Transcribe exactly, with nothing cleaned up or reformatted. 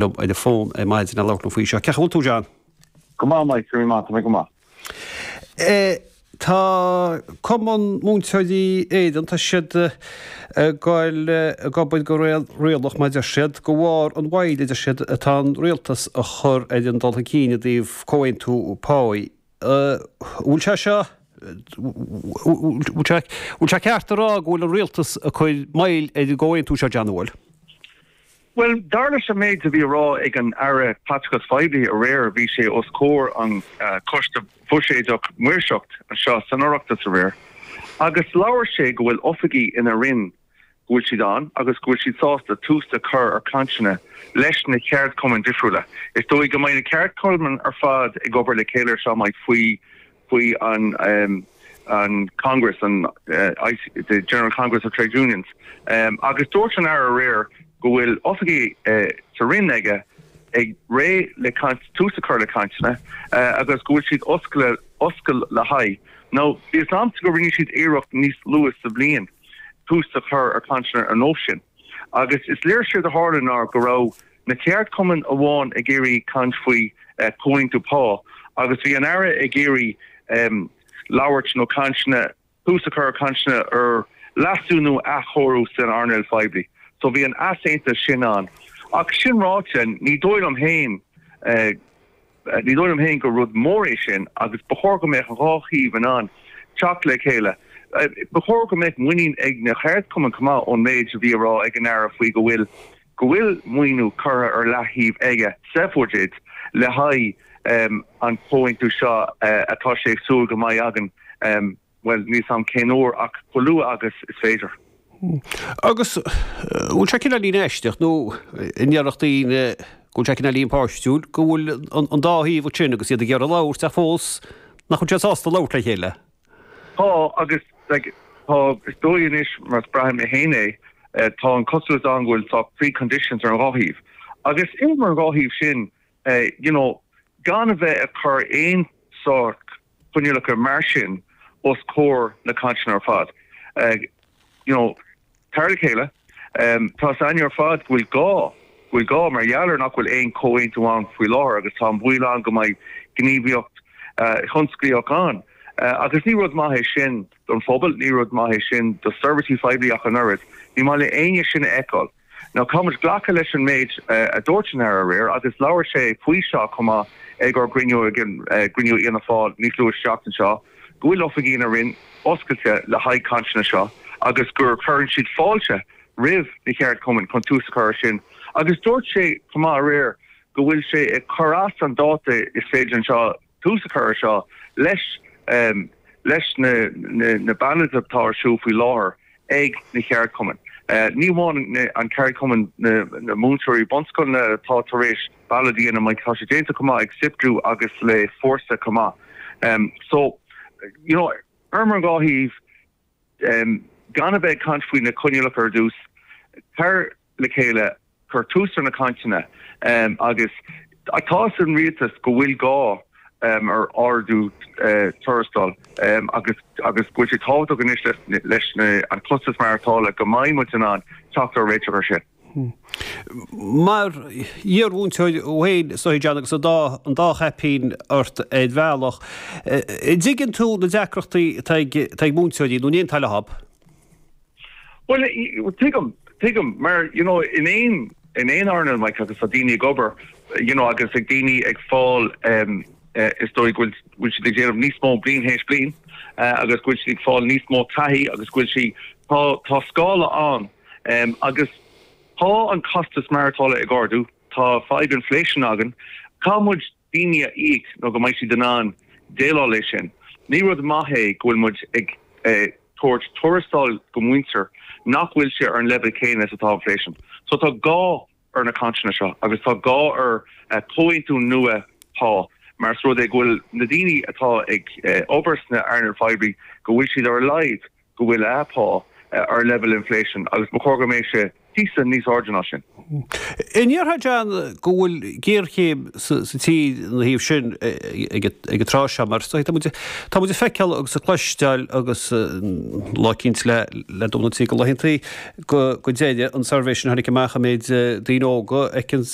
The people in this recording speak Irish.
Liom ar an bhfón ar maidin le labhairt liom faoi seo. Cén chaoi a bhfuil tú, John? Go maith, Mike, go maith, tá mé go maith. Tá Cumann Múinteoirí Éireann, tá siad ag goil ag obair go réalaíoch mar deir siad, de bharr an mhoill a deir siad atá an rialtas a chur ar an dul chun cinn i dtaobh comhaontú páí. Bhfuil sé seo, bhfuil sé ceart a rá go bhfuil an rialtas ag cur moill ar an gcomhaontú seo, John, an bhfuil? Bhuel, dar leis an méid a bhí a rá ag an Aire Caiteachais Phoiblí aréir, bhí sé os comhair an Choiste Buiséadach Maoirseacht anseo san Oireachtas aréir agus labhair sé go bhfuil oifigigh ina Roinn, go bhfuil siad ann agus go bhfuil siad sásta tús a chur ar cainteanna leis na ceardchumainn difriúla. Is dóigh go mbeidh na ceardchumainn ar fad ag obair le chéile ar seo, Mike, faoi faoi an an Congress, an the General Congress of Trade Unions, agus dúirt an Aire aréir go bhfuil oifigigh sa Roinn aige ag réidh le caint, tús a chur le cainteanna agus go bhfuil siad oscail oscail le haghaidh. Now, bhí fhios a'msa go rinne siad iarracht níos luaithe sa bhliain tús a chur ar cainteanna ar nós sin agus is léir séard a tharla ná go raibh na ceardchumainn amháin ag iarraidh caint faoi comhaontú pá agus bhí an Aire ag iarraidh labhairt nó cainteanna, tús a chur ar cainteanna ar leasú nó athchóiriú san earnáil phoiblí. So bhí an easaontas sin ann. Ach sin ráite, ní dóigh liom féin, ní dóigh liom féin gur rud mór é sin agus ba chóir go mbeadh an dhá thaobh in ann teacht le chéile. Ba chóir go mbeadh muinín ag na ceardchumainn chomh maith ón méid a bhí a rá ag an Aire faoi go bhfuil go bhfuil maoiniú curtha ar leaththaobh aige sa bhuiséad le haghaidh an comhaontú seo atá sé ag súil go mbeidh againn, bhuel, níl 's a'm cén uair ach chomh luath agus is féidir. Agus bhfuil sé cineáilín aisteach, nó an ndéarfadh daoine go bhfuil sé cineáilín páistiúil, go bhfuil an dá thaobh ansin agus iad ag iarraidh labhairt ach fós nach bhfuil siad sásta labhairt le chéile? Tá, agus like, tá, is dóigh anois mar is braithim mé féin é, tá an cosúlacht ann go bhfuil sórt preconditions ar an dhá thaobh. Agus iarraim ar an dhá thaobh sin, you know, gan a bheith ag cur aon sórt coinníollacha mar sin os comhair na cainteanna ar fad. You know, tar le chéile, tá 's againn ar fad go bhfuil gá, go bhfuil gá mar gheall ar nach bhfuil aon chomhaontú ann faoi láthair agus tá an baol ann go mbeidh gníomhaíocht thionsclaíoch ann. Agus ní rud maith é sin don phobal, ní rud maith é sin do seirbhísí phoiblí ach an oiread. Ní maith le éinne sin a fheiceáil. Now caithfidh muid glacadh leis an méid a dúirt an Aire aréir agus labhair sé faoi seo chomh maith ag ár gcruinniú ag an gcruinniú Fhianna Fáil níos luaithe sa tseachtain seo, go bhfuil oifigigh ina Roinn oscailte le haghaidh cainteanna seo agus gur cuireann siad fáilte roimh na ceardchumainn chun tús a chur ar sin. Agus dúirt sé chomh maith aréir go bhfuil sé ag cur as an dáta is féidir anseo tús a chur ar seo leis leis na na ballóids atá ar siúl faoi láthair ag na ceardchumainn. Ní amháin an ceardchumann na múinteoirí bunscoileanna atá tar éis ballóid a dhéanamh, tá sé déanta chomh maith ag Siptu agus le Fórsa chomh maith. So, you know, ar an dhá thaobh, gan a bheith ag caint faoi na coinníollacha ar dtús, tar le chéile, cuir tús ar na cainteanna agus tá 'fhios ag an rialtas go bhfuil gá ar ardú tuarastail agus agus go bhfuil sé tábhachtach anois leis an costas maireachtála go mbeidh muid in ann teacht ar réiteach ar sin. Mar iarmhúinteoir thú féin, is dóigh, John, agus an dá an dá chaipín ort ar bhealach, an dtuigeann tú na deacrachtaí atá ag atá ag múinteoirí nó an aontófá leo? Bhuel, tuigim, tuigim, mar, you know, in aon, in aon earnáil, Mike, agus tá daoine ag obair, you know, agus ag daoine ag fáil, um, is dóigh go bhfuil, bhfuil siad ag déanamh níos mó bliain théis bliain, uh, agus go bhfuil siad ag fáil níos mó taithí agus go bhfuil sí, tá, tá scála ann, um, agus tá an costas maireachtála ag ardú, tá fadhb inflation againn, caithfidh muid daoine a íoc nó go mbeidh siad in ann déileáil leis sin. Ní rud maith é go bhfuil muid ag tabhairt tuarastal go muintir nach bhfuil sé ar an leibhéal céanna is atá inflation. So tá gá ar na cainteanna seo agus tá gá ar comhaontú nua pá mar is rud é go bhfuil na daoine atá ag obair sna earnáil phoiblí go bhfuil siad ar a laghad go bhfuil a pá ar leibhéal inflation agus ba chóir go mbeidh sé píosa níos airde ná sin. An ndéarfá John go bhfuil géarchéim sa tír ina thaobh sin ag an tráth seo mar tá muid tá muid ag feiceáil agus ag cloisteáil agus lá eicínt le le dul go laethanta go go deireadh an suirbhé sin tháinig amach an méid daoine óga a fheiceann